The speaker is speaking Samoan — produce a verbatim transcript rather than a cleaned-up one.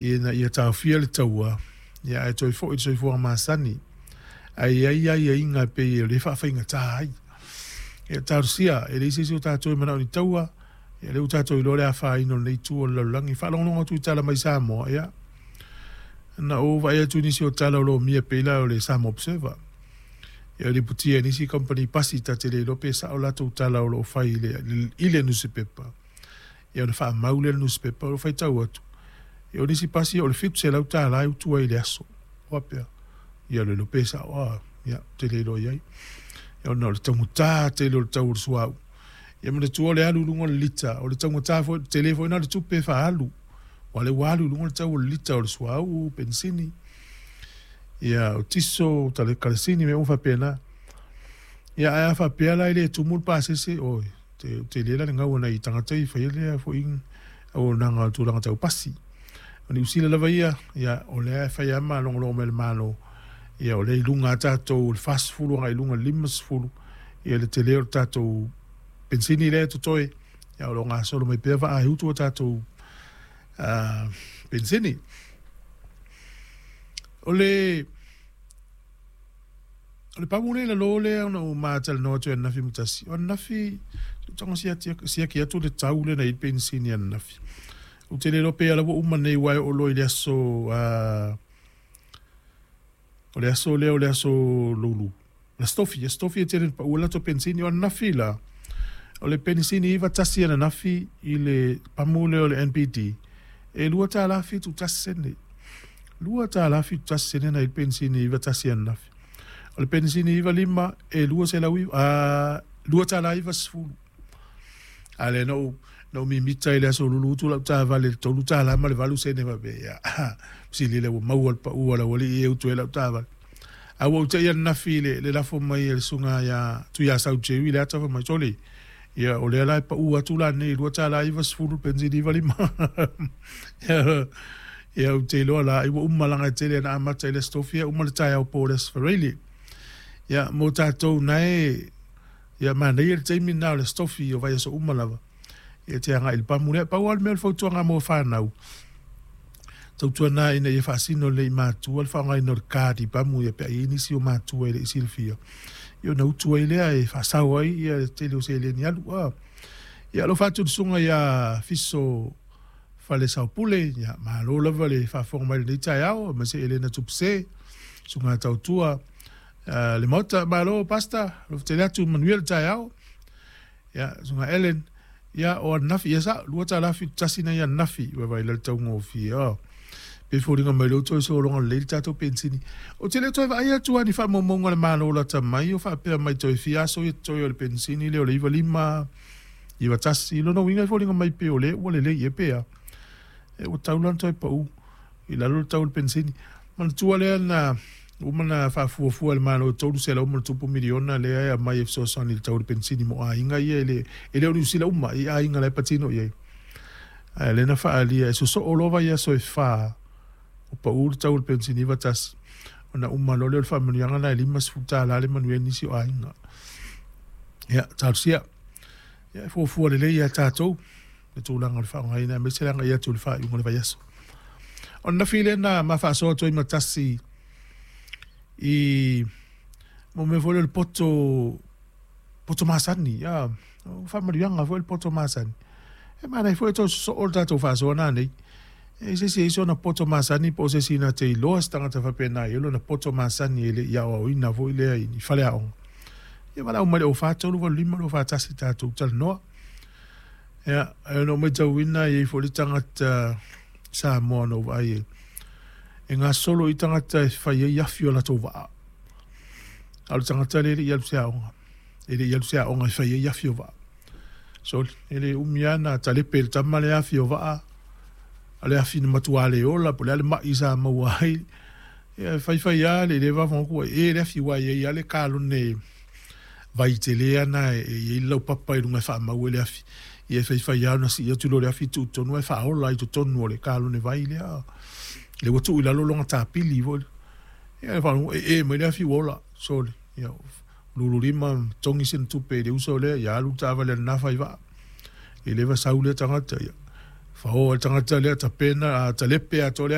Ina ia taofia le taua, ia ae toe foi i le soifuaga masani, ae i ai aiaiga e pei o lea e faafaigata ai. Ia talosia, e leai se isi o tatou e manao i ni taua, ia lea ua tatou iloa le afaina o lenei itu o le lalolagi. Faalogologo atu i tala mai Samoa, ia, na ou vaai atu i nisi o tala o lomia pei la o le Samoa Observer, ia o lipotia e nisi kamupani pasi ta te le iloa pe sao latou tala o lo o fai i le, i le nusipepa, ia ona faamau lea i le nusipepa. O lo o faitau atu, ia o nisi pasi o le fitu selau tala e utu ai i le aso. Faapea, ia le iloa pe sao, a, ia, ou te le iloa i ai. Ia ona o le taugata tele o le tau o le suauu. Ia manatua o le alu i luga o le lita, o le taugata foi, tele foi lena o le tupe e faaalu. Aua o lea ua alu i luga le tau o le lita o le suauu, penisini, ia o tiso, karasini, mea uma faapena. Ia ae a faapea la e le tumu le pasese, oi, te tele la le gau a nai tagata ia e faia lea foi auaunaga o le tulaga tau pasi. O Niu Sila lava ia, ia o lea e fai lava ma logologo mai le Malo, ia o lea e i luga lava tatou o le fasefulu agai i luga i le limasefulu, ia le tele o le tatou penisini lea e totoe, ia o lo o gasolo mai pea vaa e utu a tatou uh, penisini. O le o le pamu lea i lalo lea ona ou matalanoa atu i ananafi ma tasi, o ananafi tago siaki atu le tau lea na i ai le penisini ananafi. Ou te le iloa pe ala ua uma nei aua e oo loa i le aso uh, o le aso lea o le aso Lulu. Le aso Tofi, aso Tofi e tele ina pau ai le latou penisini. O ananafi la, o le penisini iva tasi ananafi i le pamu lea o le N P D, e lua tala fitu tasi sene. Lua tala fitu tasi sene na i le penisini iva tasi ananafi. O le penisini iva lima e lua selau iva, a, lua tala iva sefulu. A lea na ou, na ou mimita i le aso Lulu utu lau taavale i le tolu tala ma le valu sene faapea, ia, sili lea ua maua le pau a le aualii e utu ai lau taavale. A ua ou te'i ananafi i le, le lafo mai e le susuga ia Tuiasau Jerry le ata fai mai, sole, ia o lea la e pau atu la nei lua tala iva sefulu le penisini iva lima. Ia, ou te iloa la, ai ua uma leaga e tele na amata i le Aso Tofi, uma le taeao po o le Aso Faraile. Ia, mo tatou nae, ia manaia le taimi lena o le Aso Tofi o vaiaso uma lava, ia te agai i le pamu lea. Pau lava le mea o le fautuaga mo fanau, tautuana ina ia faasino lelei i matua le faaaogaina o le card i pamu ia pe a i ai nisi o matua e le i silafia, ia ona utu ai lea e faasao ai ia le tele o seleni alu. A. Ia alofa atu i le susuga ia Fiso Falesaopule, ia malo lava le faafofoga mai i lenei taeao, aemaise Elena Tupuse, susuga tautua uh, le Maota, malo Pastor, alofa tele atu, manuia le taeao. Ia, susuga Ellen, ia o ananafi, ia sa, lua tala fitu tasi na ia ananafi, vaivai la le taugofie, oh. Pe foliga mai lea ua toe sologa lelei le tatou penisini. Ou te le toe vaai atu lava i ni faamaumauga a le Malo lata mai o faapea mai toe fia aso ia totoe o le penisini lea o le iva lima, iva tasi. Lona uiga e foliga mai pei o lea ua lelei ea pe a. E ua tatau la ona toe pau i lalo le tau o le penisini. Manatua lea na uma na faafuafua e le Malo e tolu selau ma le tupu miliona lea e aumai e fesoasoani i le tau o le penisini mo aiga ia e le, e le o Niu Sila uma i aiga la e patino i ai. Ae lea na faaalia e sosoo loa vaiaso e fa o pau le tau o le penisini iva tasi, ona uma loa lea o le faamanuiaga lena e limasefulu tala le manuia ai nisi o aiga. Ia, talosia. Ia, e fuafua lelei ia tatou le tulaga o le faaaogaina, aemaise le agai atu i le faaiuga o le vaiaso. O ananafi lea na ma faasoa atu ai ma tasi i mo mea foi lea o le poto, poto masani. Ia, o faamanuiaga foi le poto masani. E manaia foi e toe sosoo le tatou faasoa nanei. E se isi e i ai sona poto masani po o se isi na te iloa se tagata faapena e i ai lona poto masani e le i aoaoina foi lea i faleaoga. Ia valaau mai i le o fa tolu valu lima lua fa tasi tatou talanoa. Ia, ae ona ou matauina e i ai foi le tagata Samoa na ou vaai e, e gasolo i tagata e fai ai afi o latou vaa. A o le tagata lea e le i alu se aoga. E le i alu se aoga e fai ai afi o vaa. Soli, e le umi lava na talepe e le tama le afi o vaa, a le afi na matua le ola, po o le a le mai sa maua ai. Ia, e faifai lava le le faafofoga atu ua e le afi, aua e i ai lava le kalone vai tele ana e i ai le laupapa i luga e faamau ai le afi. Ia e faifai lava ona sii atu loa le afi tuu i totonu ae faaola ai i totonu o le kalone vai lea. Lea ua tuu i lalo lona tapili foi. Ia e faalogo e e mai le afi ua ola. Soli, ia lulu lima togi sina tupe i le uso lea, ia alu le taavale a lena fai vaa. E leva sau lea tagata, ia Faoa le tagata lea tapena a talepe atoa le